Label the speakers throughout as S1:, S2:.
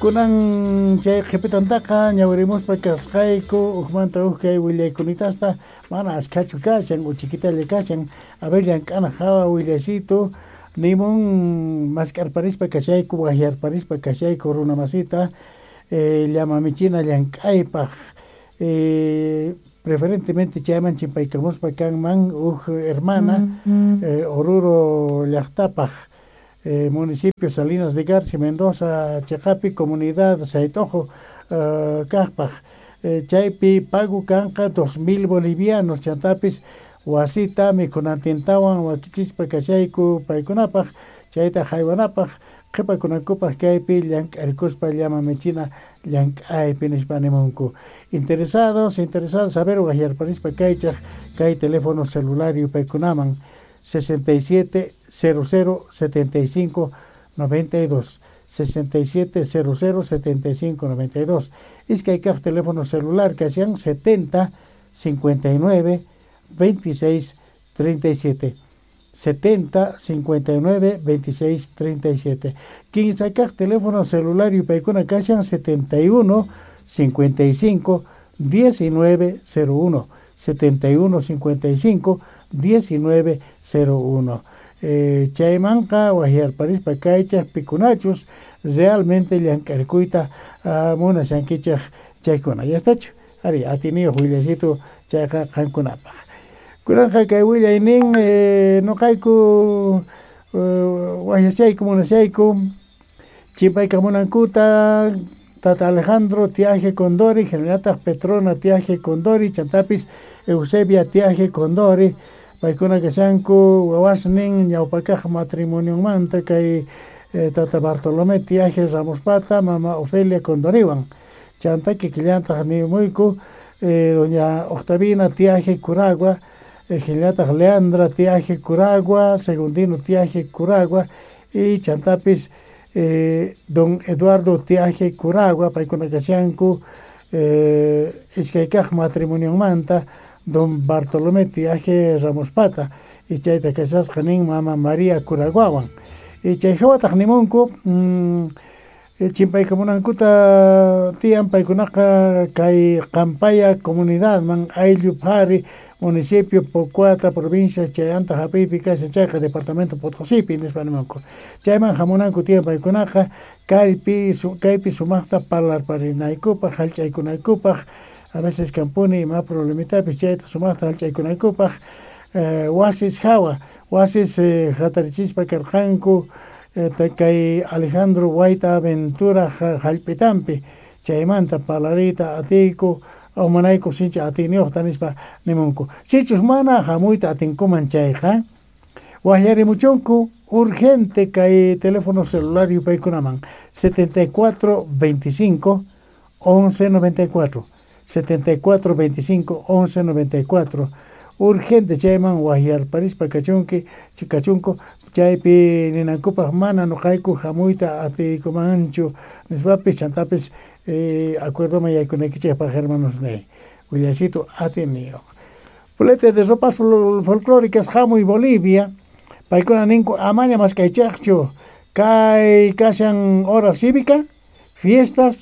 S1: Kunan chay qhipitantaqa ñawirimuspa kasqayku ujmanta uj kay willaykunitasta mana ashkhachu kashan, uchikitalla kashan. A ver, llank'ana hawa willaysitu nimun mask'arparispa kashayku, wajyarparispa kashayku runa masita llama michina llank'aypaq. Preferentemente chayman chimpaykamuspa kanman uj hermana Oruro llaqtapaq, municipio Salinas de Garci, Mendoza cheqapi, comunidad Sayt'ojo kaqpaq. Chaypi pago kanqa 2000 bolivianos, chantapis wasita mikhunantintawan wakichispa kashayku paykunapaq, chayta haywanapaq, qhipakunankupaq kaypi llank'arikuspa llama michina llank'aypi nispa nimunku. Interesados, interesados, a ver, wajyarparispa kaychaq kay teléfono celular yupaykunaman 67 00 75 92, 67 00 75 92. Iskay kaq teléfono celular kashan 70 59 26 37, 70 59 26 37. Kinsa kaq teléfono celular yupaykuna kashan 71 55 19 01, 71 55 19 01. Chaymanqa wajyarparispa kaychaq pikunachus realmente llank'arikuyta munashankichaq chaykuna. Ya estachu? Ari, atiniyuq willaysitu chayqa qankunapaq. Kunanqa kay willaynin noqayku wajyashayku munashayku chimpaykamunankuta Tata Alejandro Tiaje Condori, hinallataq Petrona Tiaje Condori, chantapis Eusebia Tiaje Condori, paykuna kashanku wawasnin ñawpakaq matrimonionmanta kay Tata Bartolomé Tiaje Ramospata, mama Ofelia Condoriwan. Chanta kikillantaq nimuyku doña Octavina Tiaje Curagua, hinallataq Leandra Tiaje Curagua, Segundino Tiaje Curagua y chantapis don Eduardo Tiaje Curagua, paykuna kashanku iskaykaq matrimonionmanta don Bartolomé Tiaje Ramospata, y chayta kashasqa nin mama María Curaguawan. Y chay hawataq nimunku chimpaykamunankuta tiyan paykunaqa kay Qampaya comunidadman ayllu phari municipio Pocuata provincia chayanta hap'iypi kashan chayqa departamento Potosipi nispa nimunku. Chayman hamunanku tiyan paykunaqa kaypi sumaqta parlarparinaykupaq, hallch'aykunaykupaq, a veces kampuni ima problemitapis chayta sumaqta hallch'aykunaykupaq, wasis hawa, wasis hatarichispa karqanku kay Alejandro Guaita Ventura hallp'itampi, chaymanta parlariyta atiyku umanayku sinchi atiyniyuqta nispa nimunku. Sichus mana hamuyta atinkuman chayqa wajyarimuchunku urgente kay teléfono celular yupaykunaman 74 25 11 94, 74 25 11 94. Urgente chayman wajyarparispa kachunki, kachunku chaypi ninankupaq mana nuqayku hamuyta atiykumanchu nispapis chantapis acuerdoman yaykunaykichikpaq hermanos niy willaysitu atiniyuq. Flete de ropas folclóricas hamuy Bolivia, paykuna ninku amaña mask'aychaqchu kay kashan hora cívica, fiestas,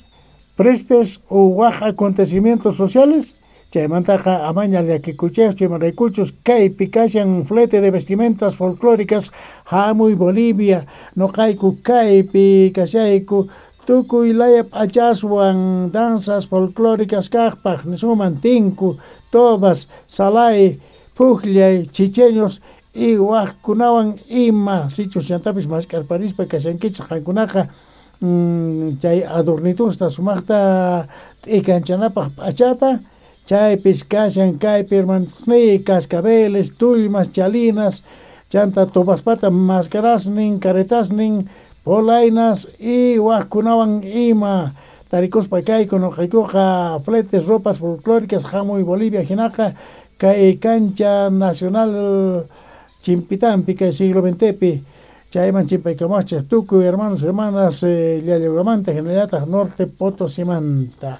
S1: prestes u waj acontecimientos sociales, chaymantaqa amaña llakikuchaqchu imaraykuchus kaypi kashan flete de vestimentas folclóricas hamuy Bolivia, noqayku kaypi kashayku tukuy laya p'achaswan danzas folclóricas kaqpaq nisuman tinku, tobas, salay, pukllay, chicheños y wajkunawan ima sichus chantapis mask'arparispa kashankichik qankunaqa chay adornitusta sumaqta t'ikanchanapaq p'achata chaypis kashan kaypi hermanosniy cascabeles, tullmas, chalinas, chanta tobaspata mascarasnin, caretasnin, polainas y wajkunawan ima tarikuspa kayku noqaykuqa fletes ropas folclóricas hamuy Bolivia hinaqa kay cancha nacional chimpitampi kay siglo XXpi chayman chimpaykamachik tukuy hermanos hermanas llallawamanta hinallataq norte Potosimanta.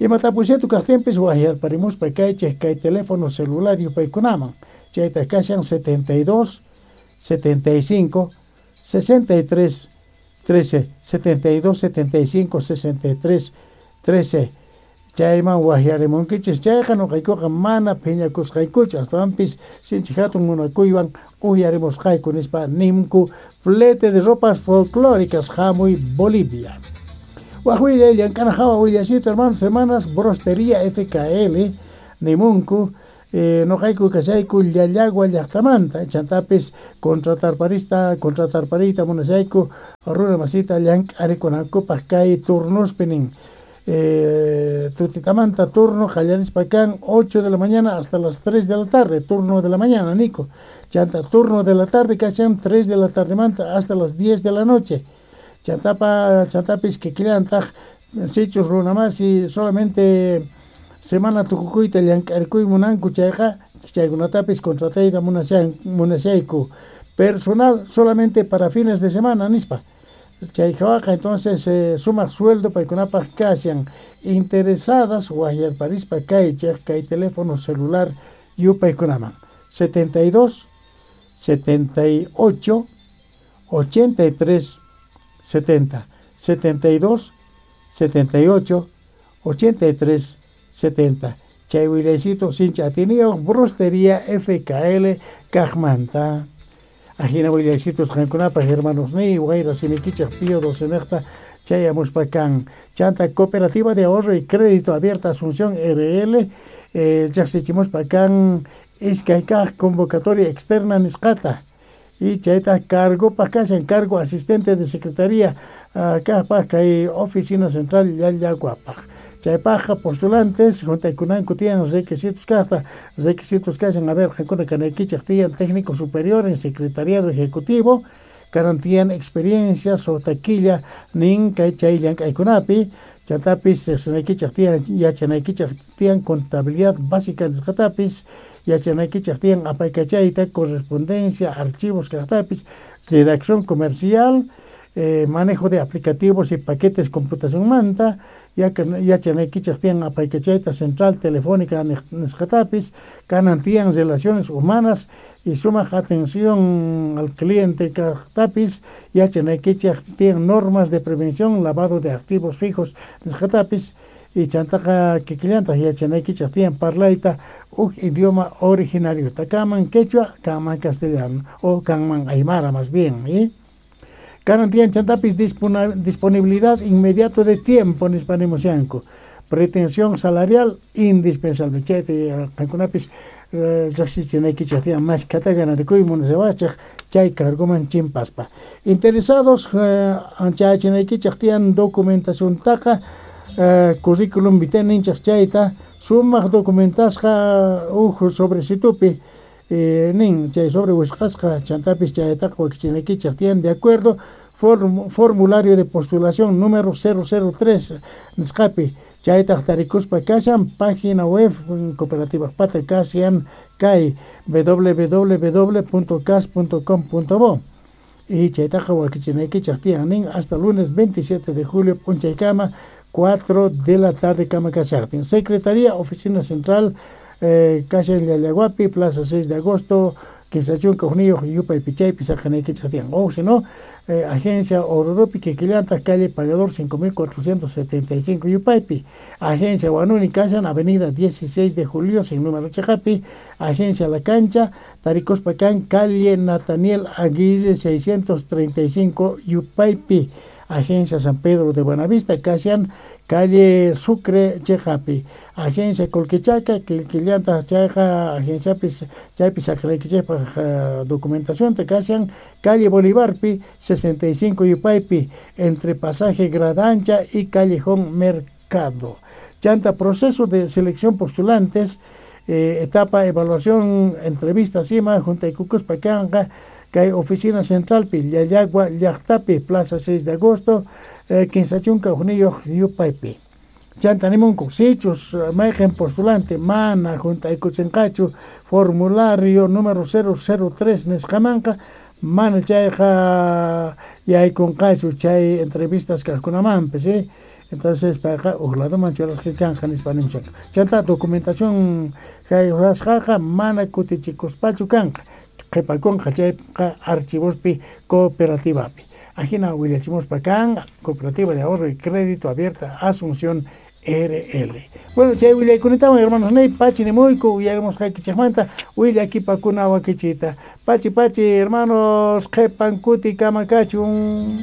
S1: Ima tapuysitu kaqtinpis wajyarparimuspa kaychik kay teléfono celular yupaykunaman chayta kashan 72 75 63 13 72 75 63 13 chayman wajyarimunkichis chayqa nuqaykuqa mana phiñakusqaykuchu astawanpis sinchi hatun munakuywan uyarimusqayku nispa nimku flete de ropas folclóricas hamuy Bolivia. Waj willay llank'ana hawa willasito hermanos hermanas Brostería FKL nimunku nuqayku kashayku Llallagua llaqtamanta chantapis contratarpariyta munashayku runa masita llank'arikunankupaq kay turnospi nin. Tutitamanta turno qallarispa kan 8 de la mañana hasta las 3 de la tarde, turno de la mañana, Nico. Chanta turno de la tarde kashan 3 de la tarde manta hasta las 10 de la noche. Chantapis kikillantaq sichus runa masi solamente semana tukukuyta llank'arikuy munanku chayqa chaykunatapis contratayta munashayku personal solamente para fines de semana nispa. Chay hawaqa entonces sumaq sueldo paykunapaq kashan interesadas wajyarparispa kaychej kay teléfono celular yupaykunaman 72 78 83 70 72 78 83 70 chay willaycito sinchi atiniyuq Brostería FKL kaqmanta. Ajina willaycitos qankunapaq hermanos ni wayra simikichaq Pío doce chayamuspa kan chanta Cooperativa de Ahorro y Crédito Abierta Asunción RL chaqsichimuspa kan iskay kaq convocatoria externa nisqata y chayta cargopaq kashan cargo asistente de secretaría kaqpaq kay oficina central Llallaguapaq. Chaypaqqa postulantes juntaykunanku tiyan requisitos kaqta requisitos kashan a ver qankuna kanaykichaq tiyan técnico superior en secretariado ejecutivo kanan tiyan experiencia suqta killa nin kay chay llank'aykunapi chantapis riqsinaykichaq tiyan yachanaykichaq tiyan contabilidad básica nisqatapis yachanaykichaq tiyan apaykachayta correspondencia archivos kaqtapis redacción comercial manejo de aplicativos y paquetes computacionmanta yachanaykichaq tiyan apaykachayta central telefónica nisqatapis kanan tiyan relaciones humanas y sumaq atención al cliente kaqtapis yachanaykichaq tiyan normas de prevención lavado de activos fijos nisqatapis y chantaqa kikillantaq yachanaykichaq tiyan parlayta uj idioma originario kanman quechua kanman castellano o kanman aymara más bien ¿eh? Kanan tiyan chantapis disponibilidad inmediato de tiempo nispa nimushanku pretensión salarial indispensable chayta qankunapis riqsichinaykichaq tiyan mashkhata ganarikuy munashawachaq chay cargoman chimpaspa interesados chayachinaykichaq tiyan documentaciontaqa currículum vitae ninchaq chayta sumaq documentasqa uj sobrecitupi nin chay sobre wisqasqa chantapis chaytaqa wakichinaykichaq tiyan de acuerdo formulario de postulación número 003 nisqapi chaytaq tarikuspa kashan página web cooperativa pata kashan kay www.cas.com.bo y chaytaqa wakichinaykichaq tiyan nin hasta lunes 27 de julio p'unchaykama 4 de la tarde kama kashaqtin Secretaría Oficina Central kashan Llallaguapi Plaza 6 de agosto kinsa chunka hukniyuq yupaypi chaypi saqanaykichaq tiyan o si no Agencia Ororopi kikillantaq calle Pagador 5475 yupaypi Agencia Huanuni kashan Avenida 16 de Julio sin número chaqapi Agencia La Cancha tarikuspa kan calle Nataniel Aguirre 635 yupaypi Agencia San Pedro de Buenavista kashan calle Sucre chaqapi Agencia Colquechaca kikillantaq chayqa agenciapis chaypi saqraykichikpaq documentación kashan calle Bolivarpi 65 yupaypi entre pasaje Gradancha y Callejón Mercado. Chanta proceso de selección postulantes etapa evaluación entrevista sima juntaykukuspa kanqa kay oficina centralpi Llallagua llaqtapi Plaza 6 de agosto kinsa chunka hukniyuq yupaypi. Chanta nimunku sichus mayqin postulante mana juntaykuchinqachu formulario número 003 nisqamanqa mana chayqa yaykunqachu chay entrevistas kaqkunamanpis entonces payqa uj ladoman churasqa kanqa nispa nimushanku chanta documentación kay rurasqaqa mana kutichikuspachu kanqa qhipakunqa chayqa archivospi cooperativapi. Ajina willachimuspa kan Cooperativa de Ahorro y Crédito Abierta Asunción RL. Bueno, chay willaykunatawan hermanos ney pachi nimuyku uyarimusqaykichikmanta willakipakuna wakichita. Pachi pachi hermanos qhipan kuti kama kachun.